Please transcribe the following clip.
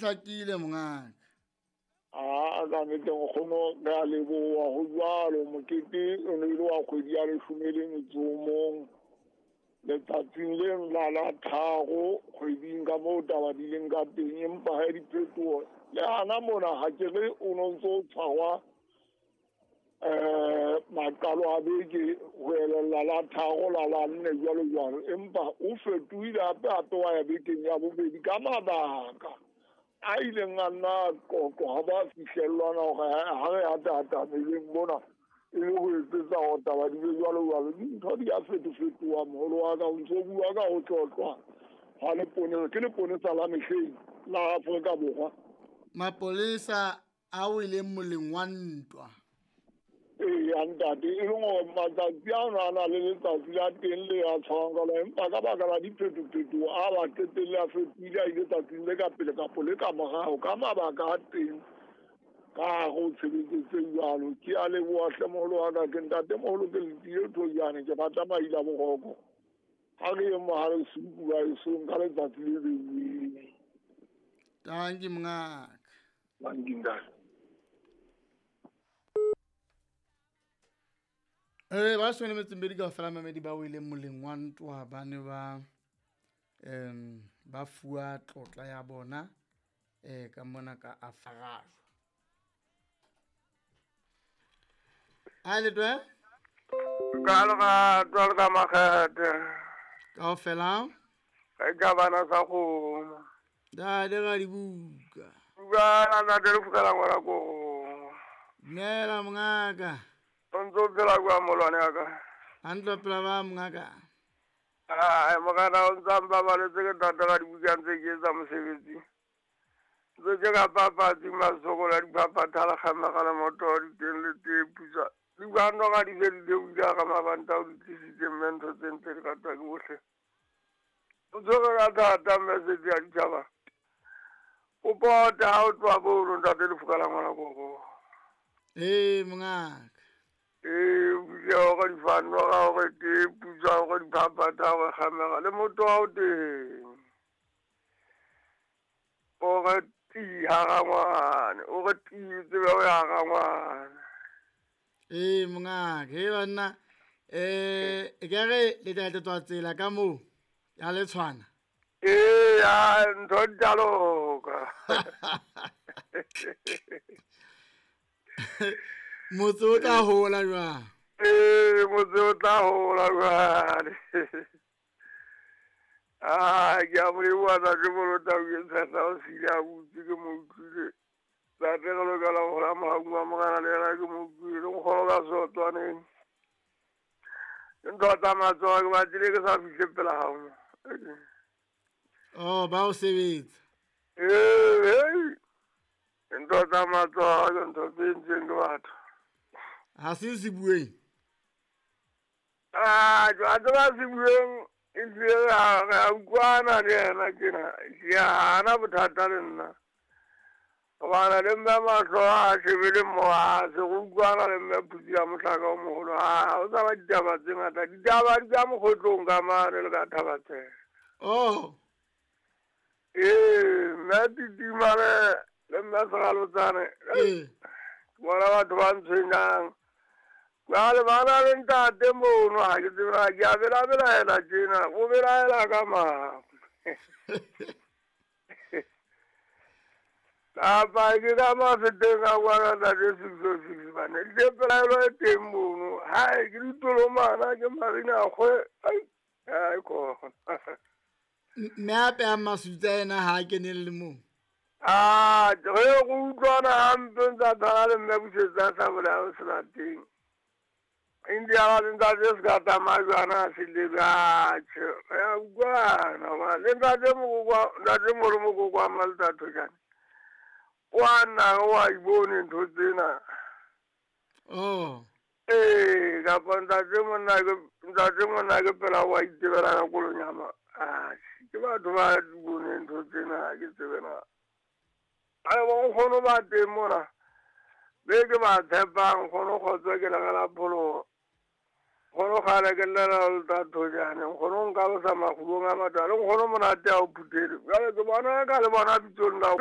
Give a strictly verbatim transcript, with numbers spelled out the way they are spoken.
hlakile mongaka. A ka nnete nkgono re a leboha ho jwalo mokete o ne ile wa kgwedi ya leshome le metso o mong letsatsing leno la la tharo kgweding ka moo taba di leng ka teng, empa ha diphetoho le hana mona ha ke re o no ntso tshwarwa eh maqalo a beke ho elella la tharo la la nne jwalo jwalo, empa o fetohile hape hape wa ya bekeng ya bobedi ka mabaka a ileng a nna qoqo ha ba fihlellwana hore ha re ataatameleng mona e le ho etsetsa hore taba di be jwalo jwalo. Dintho di a fetofetoha moholo wa ka, o ntso bua ka ho tlotlwa ha leponesa ke leponesa la mehleng la Afrika Borwa. Mapolesa a weleng moleng wa ntwa. Ee, ntate, e leng hore matsatsi ano a na le letsatsi la teng le a tshwarang ka lona, empa ka baka la diphetophetoho a ba qetelle a fetohile a ile tsatsing le ka pele kapo le ka morao ka mabaka a teng ka hare ho tshebetso tse jwalo. Ke a leboha hle moholo wa ka, ke ntate moholo ke letile Thojane, ke rata maila boroko. Ha re ye mohale suku ba esong ka letsatsi le beuweng. Tanki mongaka. Tanki ntate. Eh ba shone metseng bedi kaofela mamedi ba weleng moleng wa ntwa ba ne ba em ba fuwa tlotla ya bona eh ka mona ka Afarajwa. A le twe? Ka lerato le ka makgethe. Kaofela? Re ka bana sa kgomo. Da le ga dibuka. Buka na ntate le fukela ngwana ko. Dumela mongaka. O ntso phela kwa molwane wa ka. A ntlo phela ba mongaka. Ai mokana o ntsa mbabaletse ke tata ka dibuka ntse ke etsa mosebetsi. Ntse ke ka papatsi masokola diphaphatha le kgamega le moto di teng le tee putswa. Dibano ga di se di theohile ka mabanta o di tlisitse mme ntho tse ntle di ratwa ke bohle. O tshwere ka thata mme setse ya ditjhaba. O pota ha o tloha bono ntate le fuka la ngwana koko. Ee mongaka. Ee, o hore difano ga hore tee putswa hore diphaphatha hore kgamega le motho wa o teng. O re tii hara ngwane, o re tii tsebe o ya hara ngwane. Ee mongaka, he banna eh e ka re le tla tswa tsela ka moo ya le tshwana. Ee, a ntho di tla loka. Motse o tla hola jwang? Ee, motse o tla hola jwale. Ah, ke a mo leboha ntate Molota o ke tshehla o sile a butse ke mo utlwile. Ntate re lokela ho hola mohaung wa Morena le yena ke mo utlwile. Nkgono ka sotwaneng. Ke ntho tsa matsoho ke batlile ke sa fihle pela hao mo. Oh, ba o sebetsa. Ee, hey. Ntho tsa matsoho ke ntho tse entsweng ke batho. Ha se se bueng? Ah, jwale ba se bueng e hlile re a utlwana le yena tjena. Ehlile ha ana bothata le nna. Hobane le mme mahlo a shebile mo ha se re utlwana le mme Phutsi ya mohlaka o moholo. Ha o sa ba ditaba tse ngata. Ditaba di ka mokgotlong ka mane le ka Thabatsela. Oh. Ee, mme Titimane le mme Seralotsane. Ee. Bona batho ba ntshwenyang. Jwale ba na le ntate mono ha ke tsebe na ke a bela-belaela tjena, o belaela ka mang? Kapa ke ka mafeteng a kwana ntate six oh six bane. Le pelaelo e teng mono. Hai, ke ditolomana ke marina kgwe. Ai, ai khona. Mme a pehang masutsa ena ha a kenelle moo. Ah, re go utlwana hampe ntsa tshwana le mme Busetsa a sa bolaya o sena teng. India le ntate se ka tsamaya jwana se le batjhe. Re a utlwana hobane le ntate Mokokwa, ntate Molo Mokokwa Malta Thojane. Wa nna wa ibone ntho tsena. Oh. Ee, kapa ntate monna ke ntate monna ke pela wa itebela ka kolonyama. Ah, ke batho ba di bone ntho tsena ke tsebe na. Ai bo nkgono ba teng mona. Be ke ba tshepang nkgono kgotso ke le la pholoho. Nkgono kgale ke llela le tla Thojane. Nkgono nka lo sa makgulong a matala. Nkgono monate a o phuthele. Jwale ke bona ka le bona bitsong la